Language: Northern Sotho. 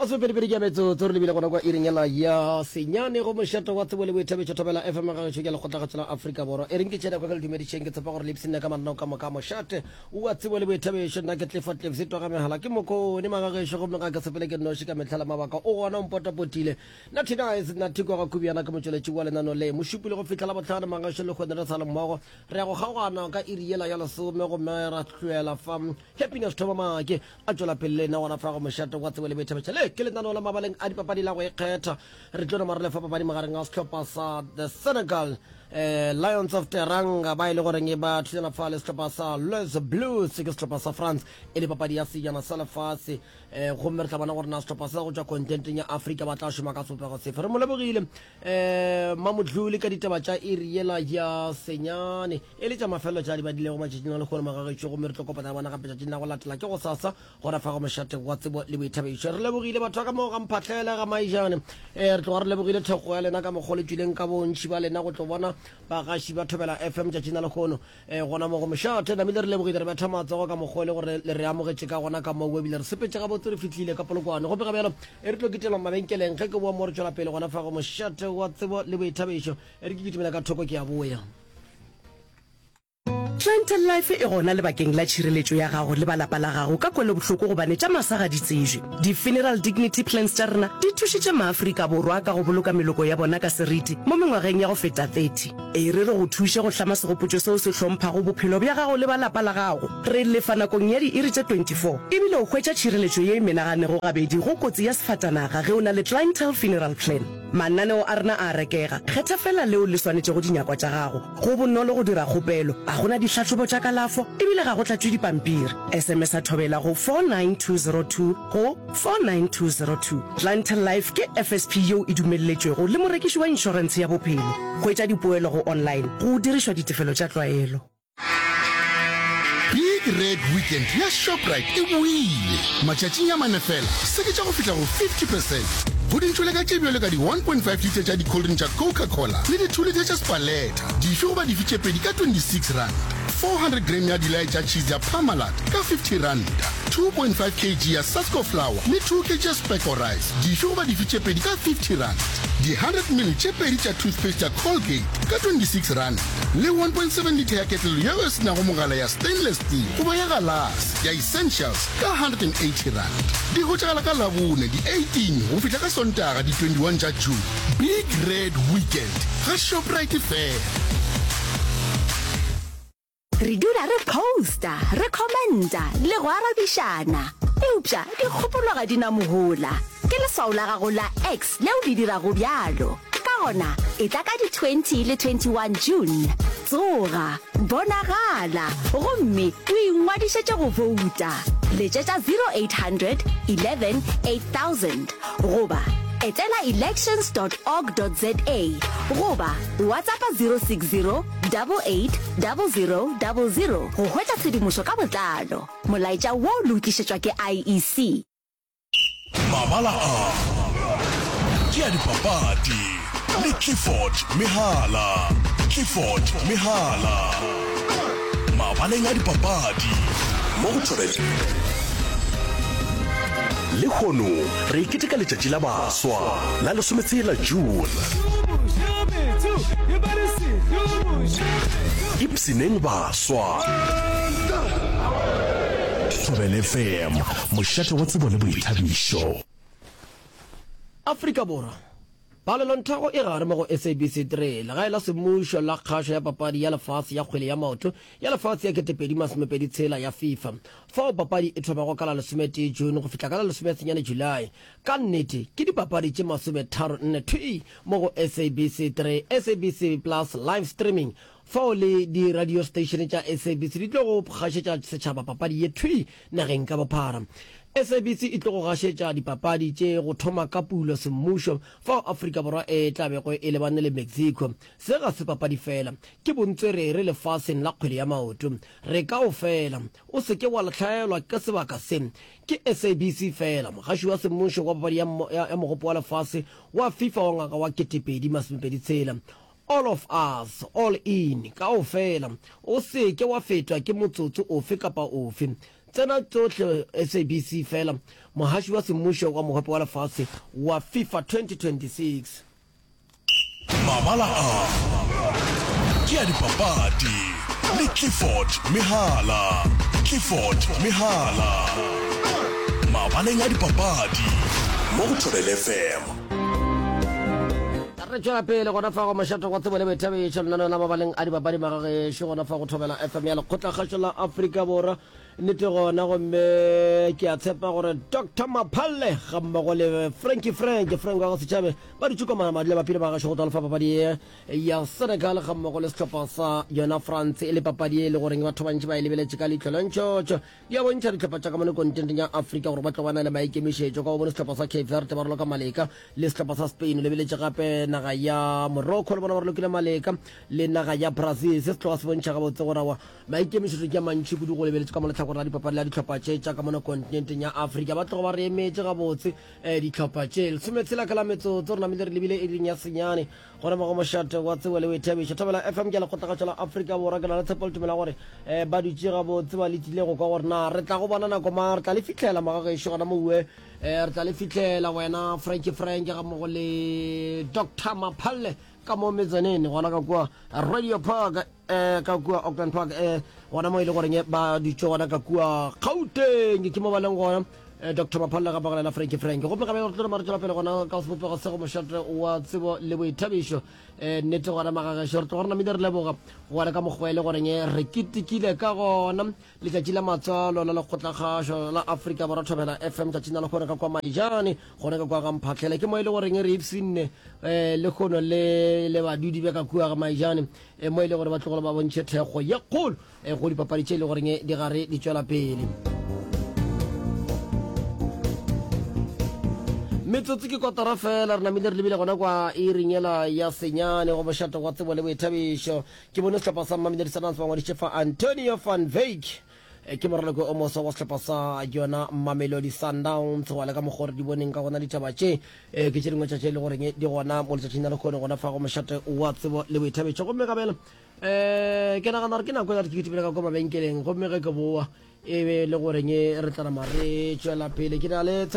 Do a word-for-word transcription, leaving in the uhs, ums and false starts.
Masomepedipedi ke a metsotso re lebile gona kwa iring yela ya senyane go mošate wa tsebo le boithabišo Thobela F M gagešo ke lekgotlakgatšo la Afrika Borwa. E reng ke tšena kwa ke le dumedišeng, ke tshepa gore le ipshinne ka mananeo ka moka a mošate wa tsebo le boithabišo. Nna ke Clifford Cliffs twa ga megala ke mokone magagešo gomme ga ke sepele ke nnoši ka mehla le mabaka o gona o mpotapotile. Natty Nice Natty kwa ga Kubiana ke motšweletši wa lenano le mošupile go fihla Labohlano magagešo le kgone re sa le mmogo re ya go kgaogana ka iri yela ya lesome gomme ra hlwela fa Happiness Thoma Make a tšwela pele le nna gona fa go mošate wa tsebo le boithabišo. Le ke lenaneo la mabaleng a dipapadi la go ikgetha. Re tlo nama re lefa papadi magareng a sehlopha sa the Senegal eh, Lions of Teranga ba e le goreng ba thulana fa le sehlopha sa Les Blues ke sehlopha sa France e le papadi ya sejana sa lefase eh, gomme re tla bona gore na sehlopha sa go tšwa kontinenteng ya Afrika ba tla šoma ka sebopego sefe. Re mo lebogile eh, Mamodlule ka ditaba tša iri yela ya senyane e le tša mafelelo tša di badilego matšatšing a lehono magagešo, gomme re tlo kopana le bona gape tšatšing la go latela ke gosasa gona fa go mošate wa tsebo le boithabišo. Re lebogile batho ba ka moo ga Mphahlele ga Maijane, eh, re tloga re lebogile thekgo ya lena ka mokgwa o le tšwileng ka bontši ba lena go tlo bona bagaši ba Thobela F M tšatšing la lehono eh, gona mo go mošate. Namile re lebogile, re betha matsogo ka mokgwa o le gore le re amogetše ka gona ka moo, ebile re sepetše gabotse re fihlile ka Polokwane. Gomme ga bjalo e re tlo kitela mabenkeleng ge ke boa mo re tšwela pele gona fa go mošate wa tsebo le boithabišo. E re ke kitimela ka thoko ke a boya. Clientele Life e gona lebakeng la tšhireletšo ya gago le ba lapa la gago ka kwelobohloko gobane tša masa ga di tsejwe. Di-funeral dignity plans tša rena di thušitše maAfrika Borwa ka go boloka meloko ya bona ka seriti mo mengwageng ya go feta thirty. E re re go thuše go hlama segopotšo seo se hlomphago bophelo bja gago le ba lapa la gago. Re lefa nakong ya diiri tše twenty four ebile o hwetša tšhireletšo ye e menaganego gabedi go kotsi ya sefatanaga ge o na le Clientele Funeral Plan. Mananeo a rena a a rekega, kgetha fela leo le swanetšego dinyakwa tša gago. Go bonolo go dira kgopelo, ga go na dihlahlobo tša kalafo ebile ga go tlatšwe dipampiri. S M S a Thobela go four nine two zero two go four nine two zero two. Clientele Life ke F S P yeo e dumelletšwego le morekiši wa inšorentshe ya bophelo. Hwetša dipoelo go online go dirišwa ditefelo tša tlwaelo. Big Red Weekend ya Shoprite e boile matšatšing a mane fela, seketša go fihla go fifty percent go dintšoleka tše bjalo ka di one point five litre tša di-cold drink tša Coca-Cola le di two litre tša Spaleta, dife goba dife tše pedi ka twenty-six rand, four hundred gram ya dilai tša cheese ya Parmalat ka fifty rand, two point five kilograms ya Sasko flour le two kilograms ya Speko rice, dife goba dife tše pedi ka fifty rand, di hundred ml tše pedi tša toothpaste ya Colgate ka twenty-six rand le one point seven litre ya ketlelo yeo e senago mogala ya stainless steel goba ya galase ya Essentials ka one hundred and eighty rand. Di hwetšagala ka Labone di eighteen go fihla ka Sontaga di twenty-one tša June. Big Red Weekend ga Shoprite fela. Re dula re posta, re commenta le go arabišana, eupša dikgopolo ga di na mohola. Ke leswao la gago la X leo le dirago bjalo. Ka gona e tla ka di twenty le twenty-one June, tsoga, bonagala gomme o ingwadišetše go bouta. Letšetša zero eight hundred eleven eight thousand goba etela elections dot org dot za goba WhatsAppa zero six zero eight eight zero zero zero go hwetša tshedimošo ka botlalo. Molaetša wo le o tlišetšwa ke I E C. Mabala a ke a dipapadi le Clifford Mehala. Clifford Mehala mabaleng a dipapadi mo go Thobela. Lehono re keteka letšatši la baswa la lesometshela June. Ipshineng baswa. Thobela F M, mošate wa tsebo le boithabišo. Afrika Borwa, palelonthago e gare mo go S A B C three, legae la semmušo la kgašo ya papadi ya lefase ya kgwele ya maoto ya lefase ya ketepedi masomepedi tshela ya FIFA, fao papadi e thomago ka la lesometee June go fihla ka la lesomesenyane July. Ka nnete ke dipapadi tše masometharo nne thwii mo go S A B C three, S A B C Plus live streaming, fao le di-radio station tša S A B C di tlo go gašetša setšhaba papadi ye thwii nageng ka bophara. S A B C e tlo go gašetša dipapadi tše go thoma ka pulo semmušo fao Afrika Borwa e tla bego e lebane le Mexico. Se ga se papadi fela, ke bontswerere lefaseng la kgwele ya maoto. Re kaofela, o se ke wa hlaelwa ke sebaka se. Ke S A B C fela, mogaši wa semmušo wa papadi ya, ya, ya mogopo wa lefase wa FIFA wa ngwaga wa ketepedi masomepedi tshela. All of us, all in, kaofela, o se ke wa fetwa ke motsotso ofe kapa ofe. Tsena tsohle S A B C fela, mohaši wa semmušo wa Mohope wa Lefase wa FIFA twenty twenty-six. Mabala a ke a dipapadi le Clifford Mehala. Clifford Mehala. Mabaleng a dipapadi mo go Thobela F M. Re tšwela pele gona fa go mošate wa tsebo le boithabišo, lenaneo la mabaleng a dipapadi, magagešo, gona fa go Thobela F M ya Lekgotlakgašo la Afrika Borwa. Nnete gona, gomme ke a tshepa gore Doctor Maphalle ga mmogo le Frankie, Frank, Frank wa go setšhabe ba dutše kwa madula bapile bagešo go tla lefa papadi ye ya Senegal ga mmogo le sehlopha sa yona France, e le papadi e le goreng batho bantši ba e lebeletše ka leihlo la ntšhotšho. Di a bontšha dihlopha tša ka mone kontinenteng ya Afrika gore ba tlo bana le maikemišetšo ka go bone sehlopha sa Cape Verde ba raloka maleka le sehlopha sa Spain. Lebeletše gape naga ya Morocco le bona ba ralokile maleka le naga ya Brazil. Se se tloga se bontšha gabotse gore awa, maikemišetšo ke a mantši kudu go lebeletše ka mo lehlakore la dipapadi la dihlopha tše tša ka mone kontinenteng ya Afrika. Ba tloga ba re emetše gabotse um dihlopha tše. Lesometshela ka la metsotso re namile re lebile iring ya senyane gona mo go mošate wa tsebo le boithabišo Thobela F M ke lekgotlakgatšo la Afrika Borwa. Ke na le tshepo le tumela gore um ba dutše gabotse, ba letile go kwa gore na re tla go bona nako ma re tla le fitlhela magagešo gona moue. um re tla le fitlhela wena Franki, Frank ga mmogo le Doctor Maphalle ka mo metsaneng gona ka kua Radio Park, um ka kua Auckland Park, um gona mo e le goreng ba dutše gona ka kua Gauteng, ke mo ba leng gona, eh, Doctor Maphalle ga bagolela Franki, Frank. Gomme gabe re tlo re tswela pele gona ka sebopego se go mošate wa tsebo le boithabišo. um nnete gona magagešo, re tloga re namile re leboga gona ka mokgwa e le goreng re ketekile ka gona letšatši la matswalo la lekgotlakgašo la Afrika Borwa Thobela F M tšatšing la lekgone ka kwa Maijane, gona ka kwa ga Mphatlhele, ke mo e le goreng re ipshinne um le kgono le le badudi ba ka kua ga Maijane, um mo e le gore ba tlogole ba bontšhe thekgo ye kgolo um go dipapadi tše e le goreng di gare di tšwela pele. Metsotso ke kotara fela re namile re lebile gona kwa iring yela ya senyane go mošate wa tsebo le boithabišo. Ke bone sehlopha sa Mamelodi Sundowns ba ngwadišitše fa Antonio van Wyk, Eh, ke moraloko o moso wa sehlopha sa yona Mamelodi Sundowns. Go le ka mokgwa gore di boneng ka gona ditaba tše, eh, ke tše dingwe tša tše e le goreng di gona mo letšatšing la lekgone gona fa go mošate wa tsebo le boithabišo. Gomme gabela um ke nagana gore ke nako ya gore ke kitimele ka kwa mabenkeleng, gomme ge ke boa e be le goreng re tla nama re tšwela pele. Ke na le